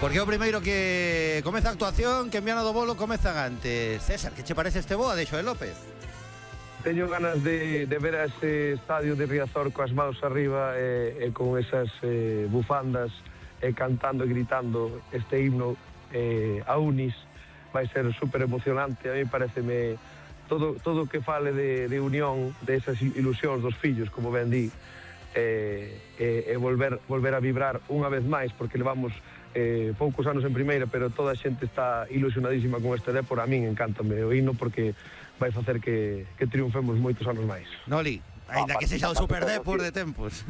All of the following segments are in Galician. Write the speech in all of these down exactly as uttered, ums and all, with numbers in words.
Porque o primeiro que comeza a actuación, que en Viana do Bolo comezan antes. César, que che parece este boa de Xoel López? Teño ganas de, de ver a ese estadio de Riazor coas maus arriba e, e con esas eh, bufandas e cantando e gritando este himno eh, a Unis. Vai ser super emocionante. A mí pareceme todo todo que fale de, de unión, de esas ilusións dos fillos, como ben di, e, e, e volver, volver a vibrar unha vez máis, porque levamos Eh, poucos anos en primeira, pero toda a xente está ilusionadísima con este Dépor. A min encántame o hino porque vai facer que, que triunfemos moitos anos máis. Noli, ainda que sexa o Super Dépor de tempos.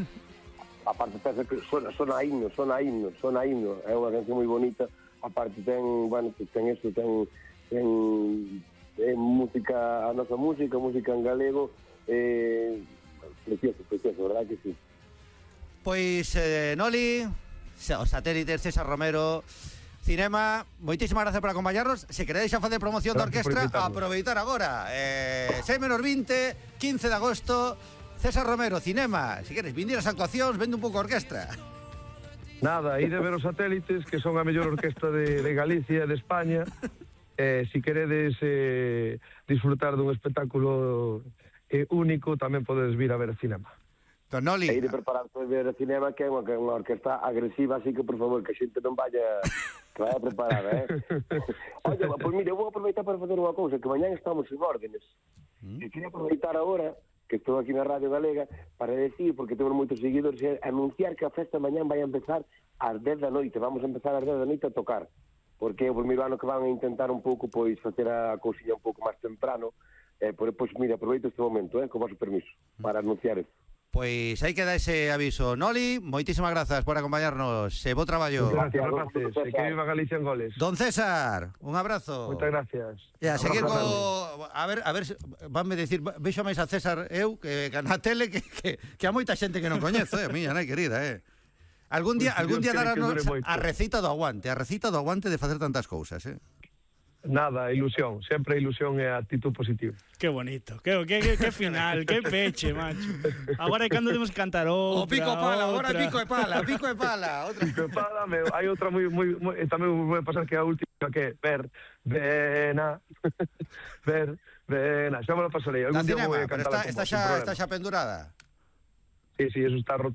Aparte pensa que sona, sona a himno, sona a himno, sona a himno, é unha canción moi bonita. Aparte ten, bueno, ten isto, ten, ten eh, música, a nosa música, música en galego, eh, precioso, precioso, verdad que sí. Pois, eh, Noli, os satélites, César Romero, Cinema, moitísimas gracias por acompañarnos. Se queréis xa facer promoción da orquestra, aproveitar agora. Eh, seis menos veinte, quince de agosto, César Romero, Cinema. Se queres vindir as actuacións, vende un pouco a orquestra. Nada, ide ver os satélites, que son a mellor orquestra de, de Galicia e de España. Eh, si queredes eh, disfrutar dun espectáculo eh, único, tamén podedes vir a ver Cinema. Don Noli. E ir preparar para ver o Cinema, que é unha, que é unha orquesta agresiva, así que, por favor, que a xente non vaya, que vaya preparada, eh? Oye, pois mire, eu vou aproveitar para fazer unha cousa, que mañán estamos en órdenes. Mm. E queria aproveitar agora, que estou aquí na Radio Galega, para decir, porque temos moitos seguidores, e anunciar que a festa mañán vai a empezar ás dez da noite. Vamos a empezar ás dez da noite a tocar. Porque é o primeiro ano que van a intentar un pouco, pois, facer a cousiña un pouco máis temprano. Eh, pois, mire, aproveito este momento, eh, con vosso permiso, para anunciar eso. Pois aí queda ese aviso. Noli, moitísimas grazas por acompañarnos. Se bo traballo. Gracias, rapaces. E que viva Galicia en goles. Don César, un abrazo. Moitas gracias. E a seguir co... A ver, a ver, vanme decir, vexo máis a César eu que na tele que, que, que a moita xente que non coñezo, eh, miña nai querida, eh. Algún día, algún día darnos a recita do aguante, a recita do aguante de facer tantas cousas, eh. Nada, ilusión, sempre ilusión e actitud positiva. Qué bonito, que, que, que, que final, que peche, macho. Agora é cando temos que cantar outra. O pico e pala, agora pico e pala, pico e pala. Outra. Pico e pala, meu, hai outra moi, moi, moi tamén vou pasar que a última que é ver, vena, ver, vena. Xa me lo pasarei, algún día vou a cantar. Está, está, xa, está xa pendurada? Sí, sí, eso está roto.